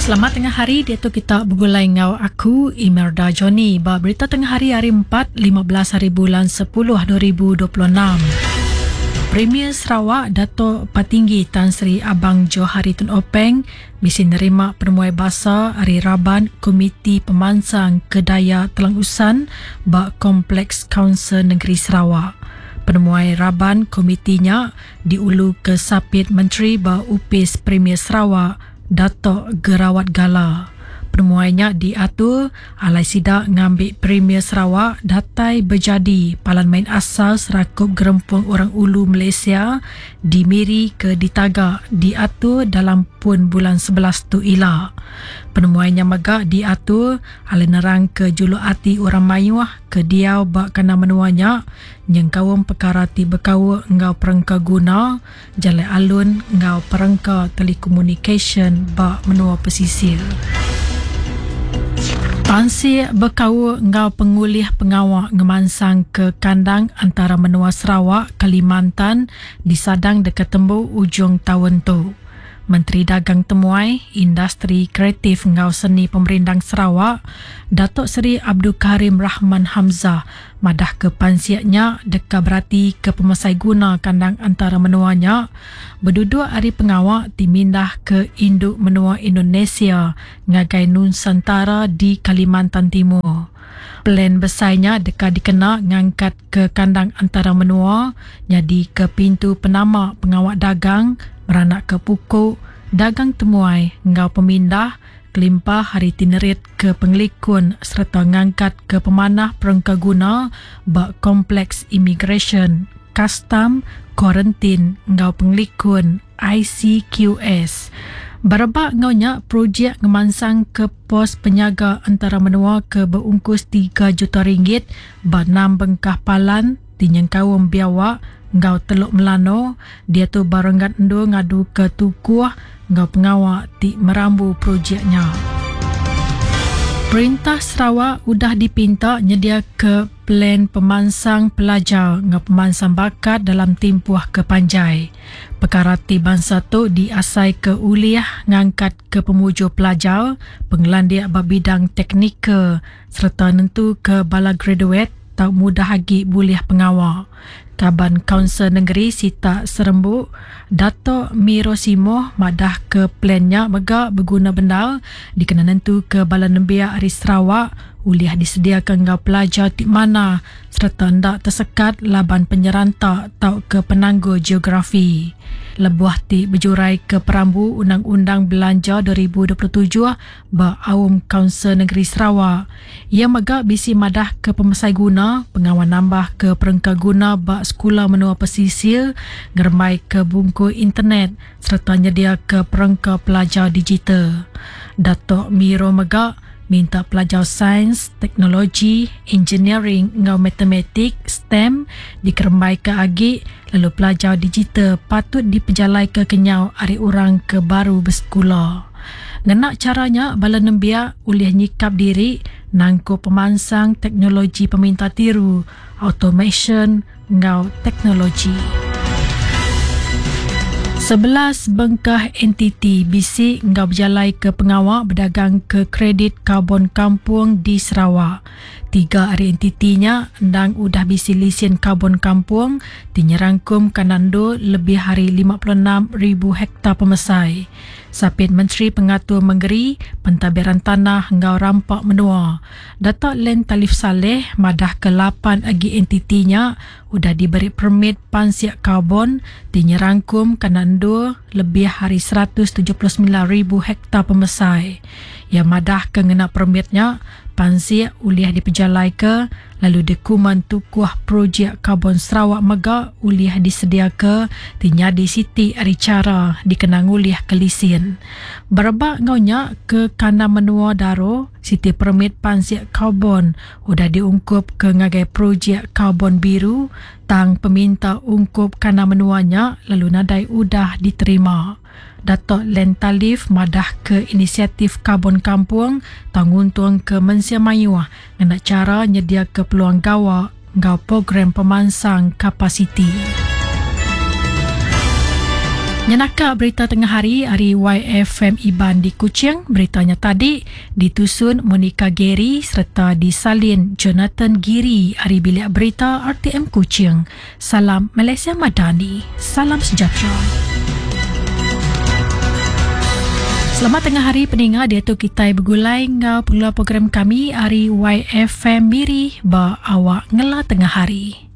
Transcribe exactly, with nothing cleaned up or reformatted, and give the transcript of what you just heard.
Selamat tengah hari diatu kita begulai enggau aku Imelda Johnny ba berita tengah hari hari empat lima belas hari bulan sepuluh dua ribu dua puluh enam. Premier Sarawak Dato' Patinggi Tan Sri Abang Johari Tun Openg bisi nerima penemuai basa ari raban Komiti Pemansang Kedaya Telang Usan ba Kompleks Kaunsil Negeri Sarawak. Penemuai raban komitinya diulu ke Sapit Menteri ba Upis Premier Sarawak Dato' Gerawat Gala. Penemuainya diatur alai sida ngambil Premier Sarawak datai berjadi Palan Main Asal Serakup Gerempung Orang Ulu Malaysia di Miri ke Ditaga diatur dalam pun bulan sebelas tu ila. Penemuainya mega diatur alai nerang ke juluk ati orang mayuh ke diau ba kana menuanya nyengkaum perkara ti berkaul enggau perengka guna, jalai alun enggau perengka telekomunikasyen ba menua pesisir. Pansik berkaul enggau pengulih pengawak ngemansang ke kandang antara menua Sarawak, Kalimantan disadang dekat tembu ujung tahun tu. Menteri Dagang Temuai, Industri Kreatif enggau Seni Pemerindang Sarawak, Datuk Seri Abdul Karim Rahman Hamzah madah ke pansiaknya deka berati ke pemesai guna kandang antara menuanya berduduk hari pengawak dimindah ke induk menua Indonesia ngagai Nusantara di Kalimantan Timur. Plan besarnya deka dikena ngangkat ke kandang antara menua jadi ke pintu penama pengawak dagang beranak ke pukuk dagang temuai enggau pemindah kelimpah hari tinerit ke pengelikun serta ngangkat ke pemanah perengka guna ba kompleks immigration, custom, kuarantin enggau pengelikun I C Q S. Berebak ngaunya projek ngemansang ke pos penyaga antara menua ke berungkus tiga juta ringgit ba enam bengkah palan tinyengkaum biawak enggau Teluk Melano dia tu barenggat endur ngadu ke tukuh enggau pengawak ti merambu projeknya. Perintah Sarawak udah dipinta nyedia ke plan pemansang pelajar enggau pemansang bakat dalam tempoh kepanjai. Perkara ti bangsa tu diasai ke uliah ngangkat ke pemuju pelajar, pengelandiak ba bidang teknikal serta nentu ke bala graduate tau mudah agi boleh pengawal. Kaban Kaunsil Negeri Sita Serembu, Dato' Miro Simoh madah ke plannya mega berguna bendar dikena nentu ke bala nembiak ari Sarawak uliah disediakan enggau pelajar ti mana serta ndak tersekat laban penyeranta tau ke penanggul geografi. Lebuh ti berjurai ke perambu Undang-Undang Belanja dua ribu dua puluh tujuh ba Aum Kaunsil Negeri Sarawak. Ia mega bisi madah ke pemesai guna pengawal nambah ke perengka guna ba sekolah menua pesisir ngerembai ke bungku internet serta nyedia ke perengka pelajar digital. Dato' Miro mega minta pelajar sains, teknologi, engineering enggau matematik STEM dikerembai ke agi lalu pelajar digital patut dipejalai ke kenyau ari orang ke baru bersekolah. Ngenak caranya bala nembiak ulih nyikap diri nangkup pemansang teknologi peminta tiru, automation enggau teknologi. Sebelas bengkah entiti B C enggau berjalai ke pengawak berdagang ke kredit karbon kampung di Sarawak. Tiga hari entitinya endang udah B C lisen karbon kampung dinyerangkum kanando lebih hari lima puluh enam ribu hektar pemesai. Sapit Menteri Pengatur Mengeri Pentadbiran Tanah enggau Rampak Menua. Dato' Len Talif Saleh madah ke lapan agi entitinya udah diberi permit pansiak karbon dinyerangkum kanando lebih hari seratus tujuh puluh sembilan ribu hektar pemesai. Ia madah ke ngena permitnya pansiak uliah dipejalai ke lalu dokumen tukuh projek karbon Sarawak mega uliah disedia ke tinyadi siti ari cara dikenang uliah ke lisin. Berebak ngaunya ke kandang menua Daro, siti permit pansiak karbon udah diungkup ke ngagai projek karbon biru tang peminta ungkup kandang menuanya lalu nadai udah diterima. Dato' Len Talif madah ke inisiatif karbon kampung tangguntung ke mensia mayuah ngena cara nyedia ke peluang gawa enggau program pemansang kapasiti. Nyenaka berita tengah hari ari Y F M Iban di Kuching. Beritanya tadi ditusun Monica Gary serta disalin Jonathan Giri ari Bilik Berita R T M Kuching. Salam Malaysia Madani. Salam sejahtera. Selamat tengah hari peninga, dia tu kita bergulai ngau pengeluar program kami ari Y F M Miri ba awak ngela tengah hari.